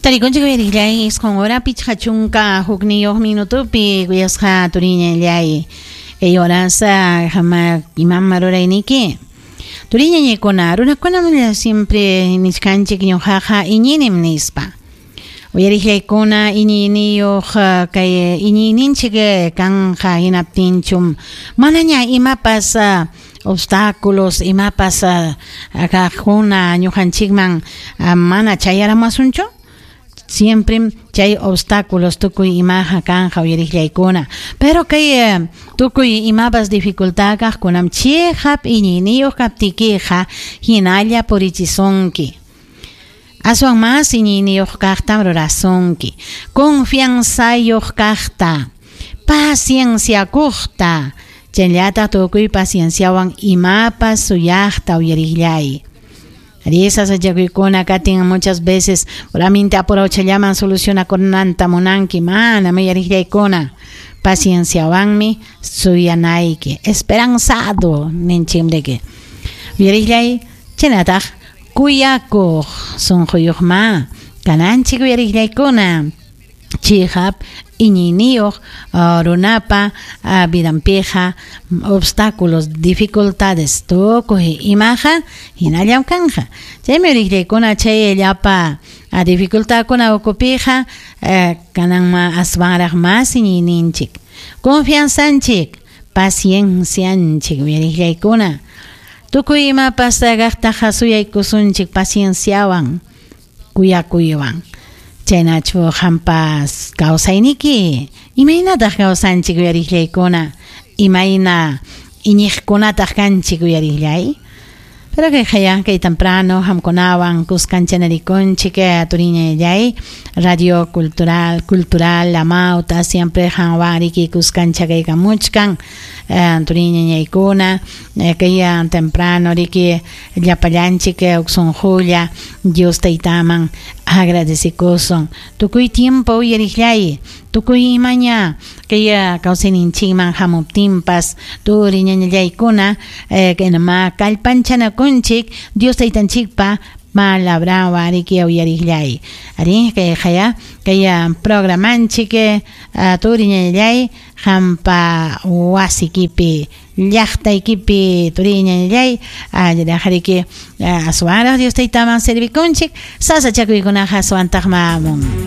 Tarikunchik uyariqllay isqun hora 51 minutopi kuyasqa turiñallay kay horas hama imam rurayniki turiñañaykuna runakunam siempre nichkanchik ñuqaqa iñinim nispa uyariqllaykuna iñiyniyuq kay iñiyninchik kanqa hinaptinchum manaña imapas obstáculos imapas kaqkuna ñuqanchikman mana chayaramasunchu. Siempre chay obstáculos tukuy imaqa kanqa uyariqllaykuna pero kay tukuy imapas dificultad kaqkunam chiqap iñiyniyuq kaptikiqa hinalla purichisunki. Aswan mas iñiyniyuq kaqtam rurasunki, confianzayuq kaqta, pacienciakuqta, chayllataq tukuy pacienciawan imapas suyaqta uyariqllay. Sasachakuykuna katin muchas veces puramente apurawchallaman solucionakunanta munanki mana uyariqllaykuna pacienciawanmi suyanayki esperanzado ninchimriki uyariqllay chaynataq kuyakuq sunquyuqma kananchik uyariqllaykuna chiqap iñiyniyuq runapa vidanpiqa obstáculos dificultades tukuy imaqa hinallam kanja chaymi uyariqllaykuna chay llapa dificultadkuna ukupiqa kananma aswanraq mas iñiyninchik confianzanchik paciencianchik uyariqllaykuna tukuy imapas kaqtaqa suyaykusunchik pacienciawan kuyakuywan chaynachu qampas kawsayniki imaynataq kawsanchik uyariqllaykuna imayna iñiqkunataq kanchik uyariqllay pero kay hayan kay temprano hamkunawan kuskanchaynarikunchik turiñallay radio cultural La Mauta siempre hanwan riki kuskancha kaykamuchkan turiñañaykuna kay temprano riki llapallanchik uqsunqulla Dios taytaman agradecikusun tukuy tiempo uyariqllay tukuy imaña kay kawsayninchikman hamuptinpas turiñañallaykuna kaynama kallpanchanakunchik Dios taytanchikpa palabrawan riki uyariqllay arí kay haya kay programanchik turiñañallay hampa wasikipi llaqtaykipi turiñañallay riki aswanraq Dios taytaman servikunchik sasachakuykunaqa aswantaqma hamun.